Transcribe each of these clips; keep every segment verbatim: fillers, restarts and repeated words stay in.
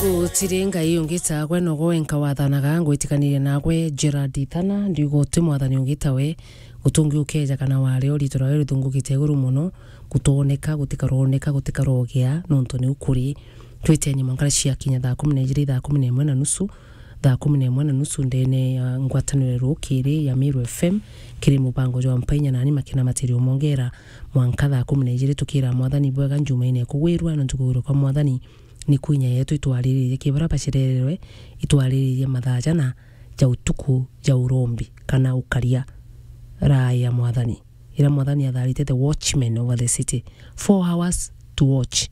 Gutiri Ngai ungi ta gwe, nogo wenka wathanaga. Ngwitikanirie nagwe, Gerald Ithana, ndiuga uti mwathani ungi ta we. Gutungi ukeja kana wari o riitwa rwawe rithungukite iguru mono, gutooneka, gutikarooneka, gutikarogia, nontu niu kuri. Twiteni mwankara ciakinya thaa kumi na ijiri, thaa kumi na imwe na nusu, thaa kumi na imwe na nusu ndene ya ngwataniro rukiri ya Meru F M, kiri mubango jwa Mpainya nani Makena Matirio Mongera, mwanka thaa kumi na ijiri tukira mwathani bwega njumaine kugwirua, nontu kugwirua kwa mwathani ni kwinya yetu. Itwariririe ki bara bacererwe, itwariririe mathaa jana ja utuku ja urombi kana ukaria, raa ya mwathani, ira mwathani atharite the watchman over the city, four hours to watch.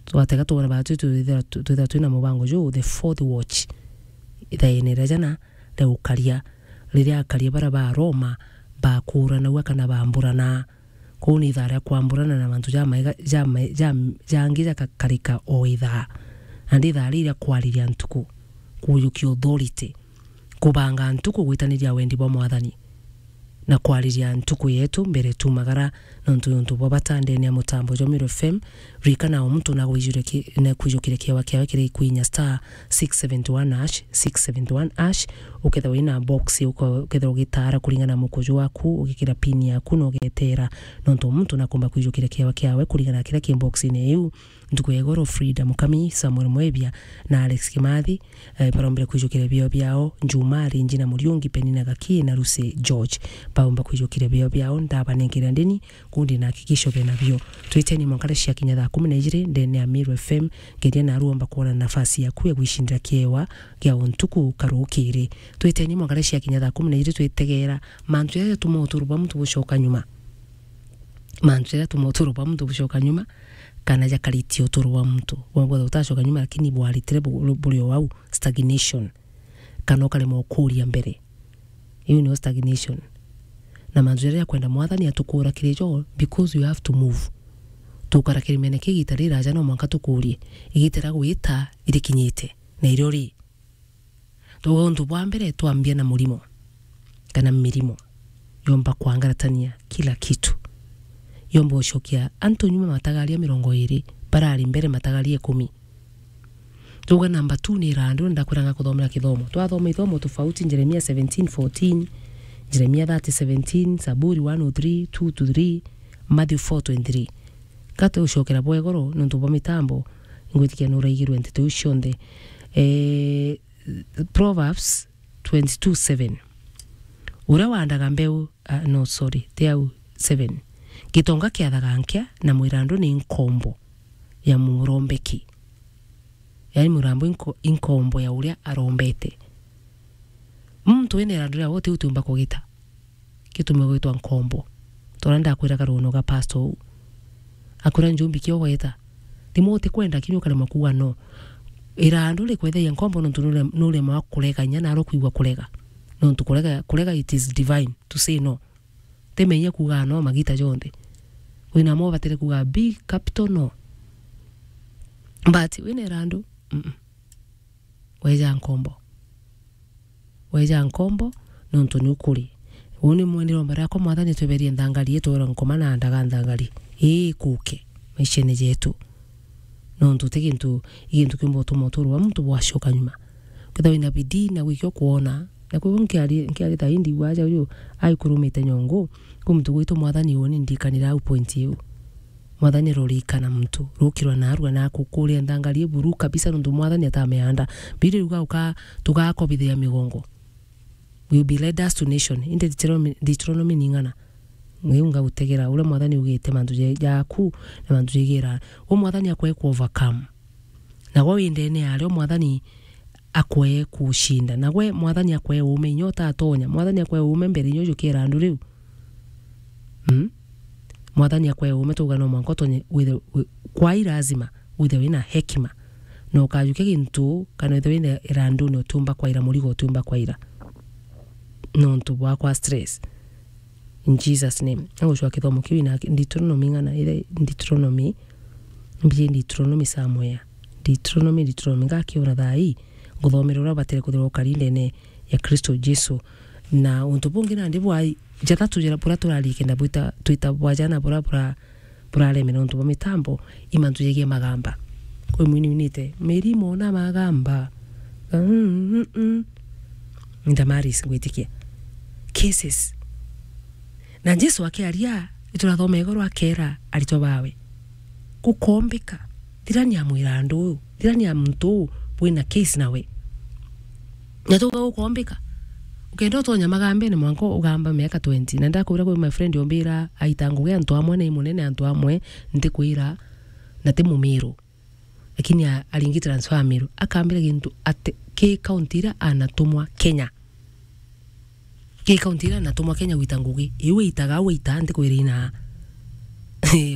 Twatega twona batu twithira twina mubango juu, the fourth watch, ithaene ria jana ria ukaria, riria akaria bara ba Roma bakuranagua kana bamburana. Kuu ni ithaa ria kwamburana na mantu jamaega, jama-, jam-, jangi jakakarika o ithaa. Na ndi ithaa riria kwariria ntuku, kujukia authority, kubanga ntuku gwitaniria wendi bwa mwathani, na kwariria ntuku yetu mbere tumagara, nontu ni untu bwa bata ndene ya mutambo jwa Meru F M. Ririkana o muntu na gwijure ki-, na kwijukire kiewa kiawe kiri kwinya star six seventy one hash, six seventy one hash, ukethirwa wina box, uko-, ukethirwa ugitara kuringana na mukuju waku, ugikira pin yaku na ugetera, nontu muntu nakumba kwijukira kiewa kiawe kuringana na kiria ki box-ini iu. Ntuku ya igoro, Frida Mukami, Samuel Mwebia na Alex Kimathi, eh, barombire kwijukira bio biao. Njuma, Rinji na Muriungi, Penina Gaki na Lucy George, baumba kwijukira bio biao. Ndabanengera ndini, kundi na hakikisho bena bio. Twiteni mwankare ciakinya thaa kumi na ijiri ndene ya Meru F M, ngeria naruomba kuona nafasi yaku ya gwicindira kiewa gia untuku karukiri. Twiteni mwankare ciakinya thaa kumi na ijiri, twitegera mantu jaria jatuma uturo bwa muntu bucoka nyuma. Mantu jaria jatuma uturo bwa muntu bucoka nyuma, kana jakaritie uturo bwa muntu. Wongo utacoka nyuma, lakini bwaritire bu-, buri o au, stagnation. Kana ukaremwa ukuria mbere. Iu niyo stagnation. Na mantu jaria jakwenda mwathani atukura kiri jo, because you have to move. Tukara kirimene kia igita riraja no mwanka tukurie, igita ria gwita irikinyite, na irio ri? Tuga untu bwa mbere, twambia na murimo, kana mirimo, yomba kwangaratania kila kitu. Yomba ucokia antu nyuma matagaria mirongo iri, barari mbere matagaria ikumi. Tuga number two ni irandu, ndakwiranga kuthomera kithomo. Twathoma ithomo tofauti, Jeremia seventeen fourteen, Jeremia thirty seventeen, Zaburi one oh three, two to three, Matthew four twenty-three. Kate ucokera bwa igoro nontu bwa mitambo, ngwitikia nuraigirwe nteto iu cionthe. Eh, Proverbs twenty-two seven. Uria wandaga mbeu, ah, no, sorry, ti au, seven. Gitonga kiathaga nkia, na mwirandu ni nkombo ya murombeki. Yaani, murambo inko-, inkombo ya uria arombete. Muntu wina irandu ria wote utiumba kugita. Gitume gwitwa nkombo. Tora ndakwiraga runo ga pastor uu. Akwira, "Njumbi, kio gweta." Rimwe utikwenda kinya ukaremwa kuuga no. Irandu rikwethagia nkombo nontu nure-, nuremwa kurega inya naro kwigua kurega. Nontu kurega, kurega it is divine to say no. Ti menya kuuga no magita jonthe. Wina mo ubatire kuuga big capital no. But wina irandu, mm-mm. Weja nkombo. Weja nkombo, nontu ni ukuri. Uu ni mwenderomba riakwa, Mwathani, tweberie nthangari, itwirwa nkoma na ndaga nthangari. Ii kuke maishene jetu. Nontu ti gintu, i gintu kiumba utuma uturo bwa muntu bwacoka nyuma. Kethira wina bidii na gwikia ukwona, na kwou nkiari, nkiari thaa ii ndigua aja uyu aikurumite nyongo, kwi muntu gwitwa Mwathani, uu ni ndikanira au point iu. Mwathani rurikana muntu, rukirwa narua na akukuria nthangari iburu kabisa, nontu Mwathani atameanda. Biblia iuga uka-, tugakobithia migongo. Will be led us to nation. Indi Deuteronomy, Deuteronomy ni ng'ana. Iu ngagutegera uria Mwathani ugite mantu je-, jaku na mantu jegira. We Mwathani akwe ku overcome. Nagwe wi ndene yario, Mwathani akwe kucinda. Nagwe Mwathani akwe uume, inya utatonya. Mwathani akwe uume mbere, inya ujukira andu riu. Mm? Mwathani akwe uume, tuga no mwanka utonye withe-, wi-, kwai lazima withe wina hekima. Na ukajukia gintu, kana withe wina iranduni utiumba kwaira, murigo utiumba kwaira. Nontu bwakwa stress. In Jesus' name. Agucwa kithomo kiu ina Deuteronomy ng'ana, ile Deuteronomy, mbiji Deuteronomy somewhere. Deuteronomy, Deuteronomy, ngakiona thaa ii, nguthomera uria ubatire kuthirwa ukari ndene ya Kristo Jesu. Na untu bungi nandi bwa jathatu jara buria turari kenda bwita, twita bwa jana buria bura-, buraremera untu bwa mitambo, i mantu jegie magamba. Kwi mwini winite, "Mirimo na magamba." Mm, mm, mm. Ndamaris ngwitikia. Cases. Na Jesu akiaria, iturathoma igoro akera aritwa bawe, "Gukombika. Thirani amwira andu uyu, thirani a muntu uu wina case nawe." Na tuga gukombika. Ukenda utonya magambene mwanka ugamba miaka twenty. Na ndakwira kwi my friend ombira aita ngugi antu amwe na imunene antu amwe ntikwira na ti mumiru. Lakini a-, aringi transfer Meru. Akambira gintu ati ki county iria anatumwa Kenya. Ki county iria anatumwa Kenya gwita ngugi. Iu witaga, au wita ntikwira ina.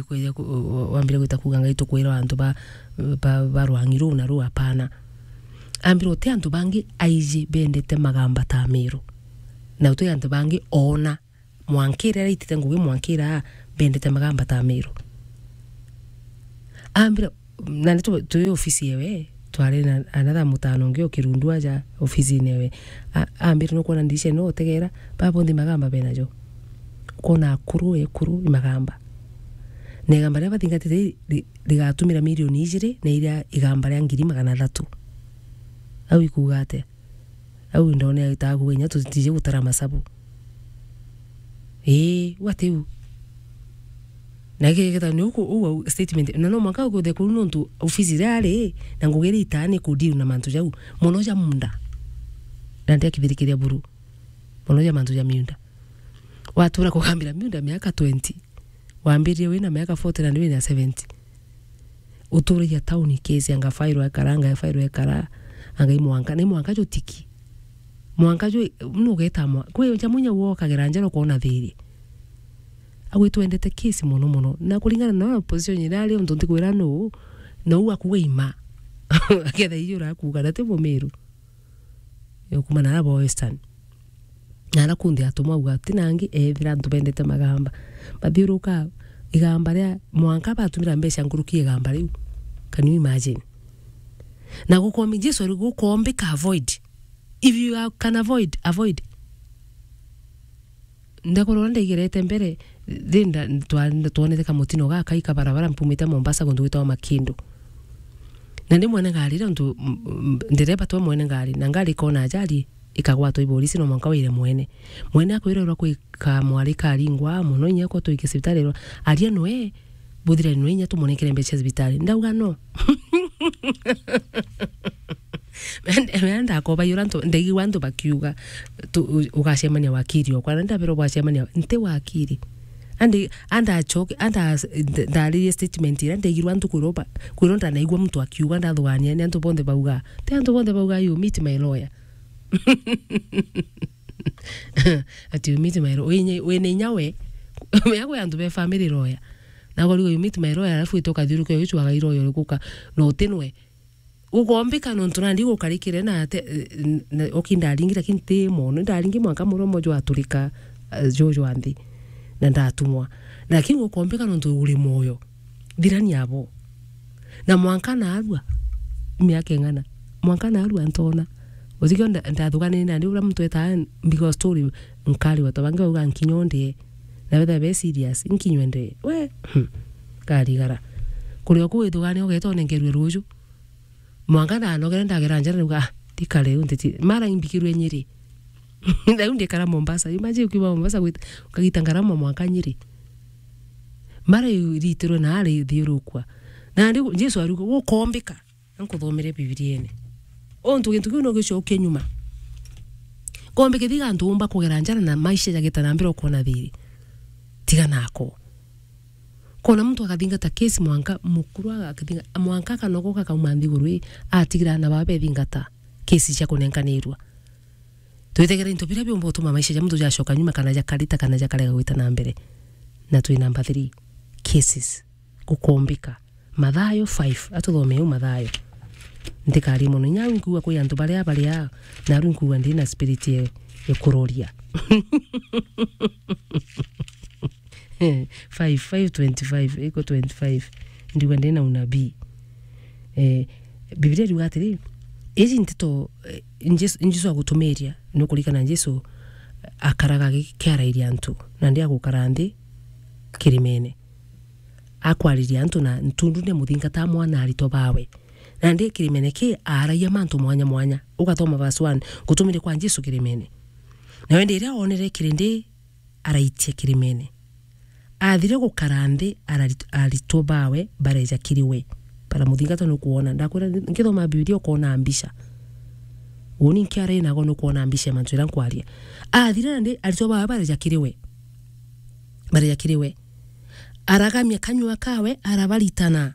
Kwija ku-, u-, u-, wambire gwita kuga ngai tukwira antu ba, ba, ba rwangi ruu na ruu, apana. Ambira uti antu bangi aiji bendete magamba ta Meru. Na uti antu bangi oona mwankira ira itite ngugi mwankira bendete magamba ta Meru. Ambira, na ni tu-, twi ofisi ewe, twari na another mutano ungi o Kirundu aja ofisine ewe. A-, ambira, "Nukwona ndirisha ino utegera, baba bonthe magamba benajo. Ukona akuru, ekuru, imagamba. Na igamba riria bathingatite ri-, ri-, rigatumira milioni ijiri, na iria igamba ria ngiri magana athatu." Au ikuuga atia? Au ndone aitaga kuga inya tutije gutara masabu. Ii, what u? Na giki gita ni uku, u au statement. Na no mwanka ukuthe kuru nontu ofisi iria ari, na ngugi iria itaa ni ku deal na mantu jau. Mono ja munda. Na ndia kithirikiria buru. Mono ja mantu ja miunda. Watura kugambira miunda miaka twenty. Wambiririe wina miaka forty na ndi wina seventy. Uturagia tauni kesi, anga fairwa ekara, anga fairwa ekara, anga i mwanka, na i mwanka jo tiki. Mwanka jo, nu ugeta mwa-, kwi ja munya uokagera njara ukona thiri. Agwitwendete kesi mono mono. Na kuringana na position iria ari, untu ntikwira nu, na u akuga ima. Aketha iyo urakuga, na ti Mumiru. Ukuma na aba Western. Na ara kunthe atumwa auga, ti nangi, ethira antu bendete magamba. Bathiuruka igamba ria mwanka batumira mbeca nkuruki igamba riu. Can you imagine? Na gukomi-, Jesu ari gukombika avoid. If you are, can avoid, avoid. Ndakorwa ndaigerete mbere, ri nda-, twa-, twonete kamutino gakai ka barabara mpumite Mombasa guntu gwitagwa Makindu. Na ndi mwene ngari, ira untu, m-, m-, ndereba twe mwene ngari, na ngari ikona ajali, ikagwatwa i borisi, no mwanka wire mwene. Mwene akwirerwa kwi kamwari karingwa mono, inya ko twike cibitari, erwa, "Aria nwe, buthirani nwe, inya tumunengere mbeca cibitari." Ndauga, "No." Mea ndakoba yura antu, ndaigua antu bakiuga, tu-, u-, ugacemania wakiri okwa, na ndabera bwacemania, nti wakiri. Andi, anda acoke, anda as-, nda-, ndaririe statement ira ndaigirwa antu kwirwa ba-, kwirwa ndanaigua muntu akiuga, ndathugania ni antu bonthe bauga. Ti antu bonthe bauga, "You meet my lawyer." Ati, "You meet my lawyer." Wina, wina inya we. Mea kwi antu be family lawyer. Na korigo, "You meet my lawyer," alafu wite ukathiuruke ugicwaga i lawyer uriku ka, no uti nwe. Gukombika nontu nandi gukarikire na ate, na, oki ndaringi, lakini ti mono. Ndaringi mwanka muromo jwaturika, eh, jo jwa nthi. Na ndatumwa. Lakini gukombika nontu uri moyo. Thirani abo. Na mwanka narua. Miaka ing'ana. Mwanka narua ntona. Utikio nda-, ndathuganire nandi uria muntu etaa mbigo story nkariwa ta bangi bauga nkinya ndie. Na betha be serious, nkinywe ndie. We, hmm. Karigara. Kuria ku withugane ugeta unengerwe ruju. Mwanka ndanogere ndagera njara, ndauga, "Ah, ndikare riu ntiti." Mara imbikirwe Nyeri. Riu ndikara Mombasa. Imagine ukiuma Mombasa gwita, ukagita ngarama mwanka Nyeri. Mara iritirwe na ari thiurukwa. Na ndi Jesu aruga, "Gukombika." Nkuthomere Bibiliene. Untu gintu kiu no gicokie nyuma. Kombe kithiga antu umba kugera njara na maisha jagita na mbere ukona thiri. Tiga nako. Kona muntu akathingata kesi mwanka mukuru aga-, akathinga-, mwanka akanogoka akauma nthiguru ii, atigira ana bawe bethingata kesi cia kunenkanirua. Twitegere into biria biumba utuma maisha ja muntu jacoka nyuma kana jakarita kana jakarega gwita na mbere. Na twi number three, cases. Gukombika. Mathayo five. Atuthomee u Mathayo. Ntikari mono. Inya au nkuuga kwi antu baria baria, na aru nkuuga ndi na spirit ya, ya kuroria. Five, five twenty-five, iko twenty-five. Ndiuga ndi na unabii. Eh, Biblia iriuga atiri, iji nteto, eh, Jesu, Jesu agutumiria, nukurikana Jesu akaraga gi-, kiarairia antu, na ndi agukara nthi kirimene. Akwariria antu na ntundune muthingata mwana aritwa bawe. Nandi kirimene ki aaragia mantu mwanya mwanya. Ugathoma verse one, gutumire kwa Jesu kirimene. Nawe ndi riria oonere kirindi, araitia kirimene. Aathire gukara nthi, arari-, aritwa bawe bareeja kiri we. Bara muthingatwa nukwona. Ndakwira, nkithoma Bibilia ukoona mbica. Uuni nkiaria nago nukwona mbica ya mantu jaria nkwaria. Aathire nandi, aritwa bawe bareeja kiri we. Bareeja kiri we. Aragamia kanyua kawe, arabaritana.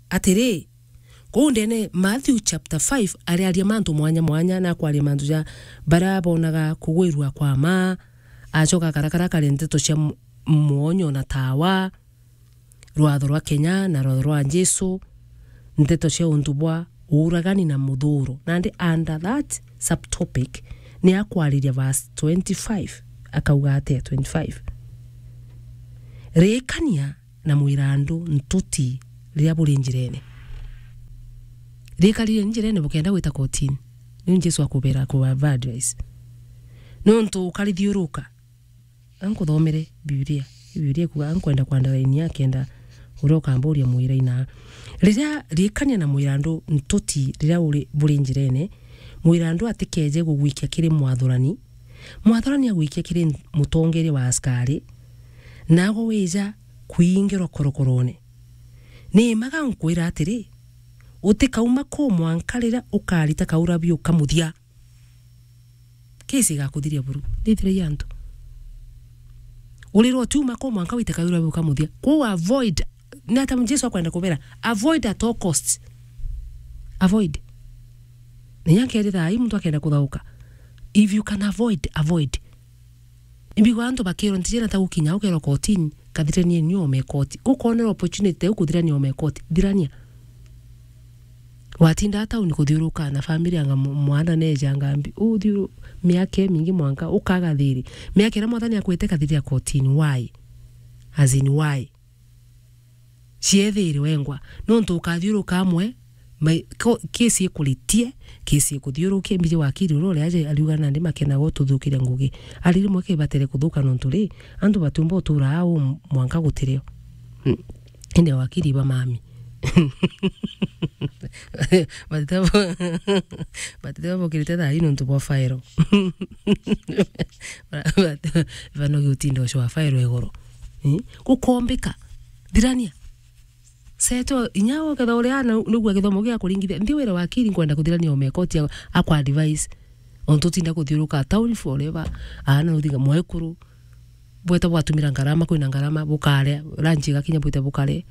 Atiri, kuu ndene Matthew chapter five, ariaria mantu mwanya mwanya, na akwaria mantu ja baria bonaga kugwirua kwa ma, acoka akarakara akaria nteto cia m-, mwonyo na tawa, rwatho rwa Kenya na rwatho rwa Jesu, nteto cia untu bwa uuragani na muthuro. Nandi under that subtopic, ni akwariria verse twenty-five, akauga atia twenty-five? Ririkania na mwirandu ntuti riria buri njirene. Rikaririe njirene bukenda gwita kotini. Niu Jesu akubera, akuba advice. Nontu ukarithiuruka. Ankuthomere Bibilia. Bibilia ikuga, ankwenda kwandaraini akenda uria ukamburia mwira ina. Riria, ririkania na mwirandu ntuti riria uri, buri njirene, mwirandu atikeje gugwikia kiri mwathurani, mwathurani agwikia kiri mutongeria wa askari, nago wija kwingirwa korokorone. Ni mma nkwira atiri, utikauma kuu mwanka riria ukarita kaurabi ukamuthia. Kesi igakuthiria buru. Ndithiragia antu. Urirwa utiuma kuu mwanka wite kaurabi ukamuthia. Kwou avoid. Ni ata Jesu akwenda kubera? Avoid at all costs. Avoid. Na inya nkeri thaa ii muntu akenda kuthauka. If you can avoid, avoid. Imbigwa antu bakirwa ntijena ta gukinya ukerwa kotini, kathiranie ni ome koti. Gukonera opportunity ya kuthirania ome koti, thirania. Watinda tauni kuthiuruka na family anga mu-, mwana neja ngambi, uthiuru miaka imingi mwanka ukaga thiri. Miaka iria mwathani akwete kathiria kotini, why? As in why? Ciethire wengwa. Nontu ukathiuruka amwe, mai-, ko-, kesi ikuritie, kesi ikuthiurukia, mbiji wakiri uria uri aje ariuga nandi makenaga ututhukiria ngugi. Ari rimwe kibatere kuthuka nontu ri, antu batiumba utura au mwanka gutirio. Mm. Indi wakiri ba mami. Batitebo-, batitebo bokirite thaa ii nontu bwa faero. Banogi utinda ucua faero igoro. Eh? Gukombika. Thirania. Seto, inya uketha uria ana nigua githomo gia kuringithia. Nthi wira wakiri nkwenda kuthirania ome koti a, akwa advice. Ontu utinda kuthiuruka town forever. Ana uthinga mwekuru. Bweta bwatumira ngarama, kwina ngarama, bukaria, lunch igakinya bwite bukaria.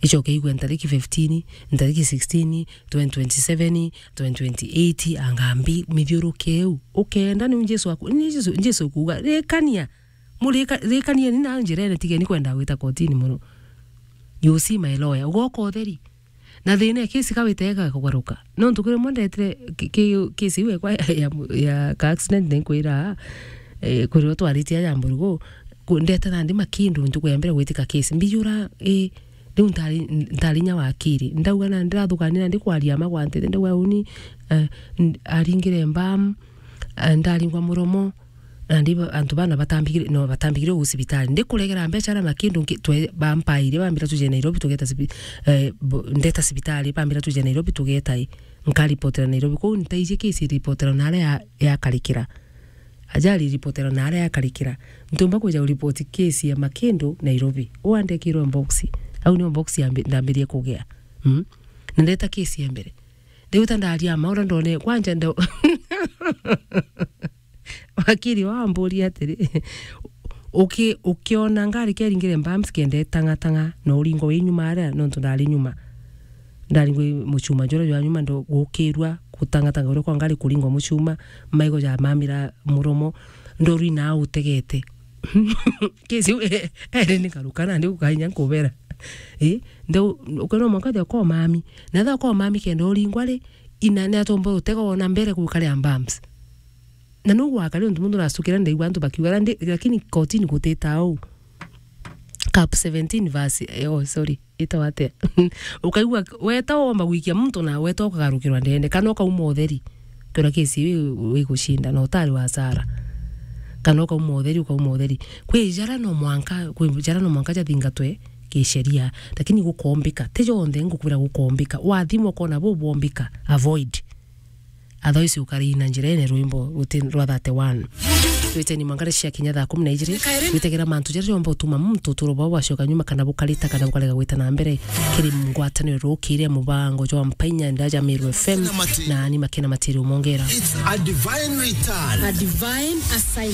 Icoke igwe ntariki fifteen, ntariki sixteen, twenty twenty-seven, twenty twenty-eight, angambi, mithiuruke iu. Ukenda niu Jesu aku-, ni Jesu, Jesu kuuga, rikania. Murika-, rikanieni na njirene, tigeni kwenda gwita kotini mono. You see my lawyer, ugoka utheri. Na thina ya kesi kawite ega kugaruka. Nontu kuri mwe ndetire ki-, ki-, kesi iu ekwa ya, ya, ya ka accident ni nkwira, eh, kuri o twaritie ya mburugu, ku-, ndete nandi makindu ntuku ya mbere gwitika kesi. Mbijura, eh, riu ntari, ntari nya wakiri. Ndauga na ndirathukania nandi kwaria ma gwantete, ndauga uni, eh, n-, aringire mbam, eh, ndaringwa muromo, nandi ba-, antu bana batambigire, no, batambigire gusibitali. Ndikuregera mbeca aria makindu nki-, twe-, bampaire, bambira tuje Nairobi tugeta sibi-, eh, bo-, ndeta sibitali, bambira tuje Nairobi tugeta i. Nkaripotera Nairobi. Kwou ntaiji kesi iripotera na aria ya-, yakarikira. Ajali iripotera na aria yakarikira. Ntumba kwija uripoti kesi ya makindu Nairobi. Uu andekirwe box. Au nio box yambi-, ndambirie kugea. Mm? Na ndeta kesi ya mbere. Riu ta ndaria ma uria ndone, kwanja ndo-, wakiri wao amburia atiri, uki-, ukiona ngari keringire mbams kenda itang'atang'a, na uringwa wi nyuma aria, nontu ndari nyuma. Ndaringwa i muchuma juria jwa nyuma, ndo-, gukirua gutang'atang'a uria kwa ngari kuringwa muchuma, maigo jamamira muromo, ndoru ina utegete. Kesi iu, e-, eri ni karuka nandi ukainya nkubera. Ii, ndeu, ukwirwa mwanka thia kwa mami. Na thia kwa mami kenda uringwa ri, ina ni atomba utega wona mbere gukarea mbams. Na nu gwakari untu muntu uracukira ndaigua antu bakiuga, ndi-, lakini kotini gutita uu. Cap seventeen verse, eh, oh, sorry, itawa atia? Ukaigua weta womba gwikia muntu na weta ukagarukirwa ndene, kana ukauma utheri. Kwira kesi iu wi-, wigucinda, na utari wa Sara. Kana ukauma utheri, ukauma utheri. Kwi jara no mwanka, kwi jara no mwanka jathingatwe, kisheria, lakini gukombika. Ti jonthe ngukwira gukombika. Wathimwa ukona bu bwombika, avoid. Otherwise ukari na njira ene rwimbo ruti rwa thirty-one. Twiteni mwangare cia kinya thaa kumi na ijiri. Witegera mantu jaria jomba utuma muntu uturo bwao bwacoka nyuma kana bukarita kana bukarega gwita na mbere. Kiri ngwataniro rukire mubango jwa Mpainya Ndaja Meru F M na ni makena matiri umongera. It's a divine return. A divine assignment.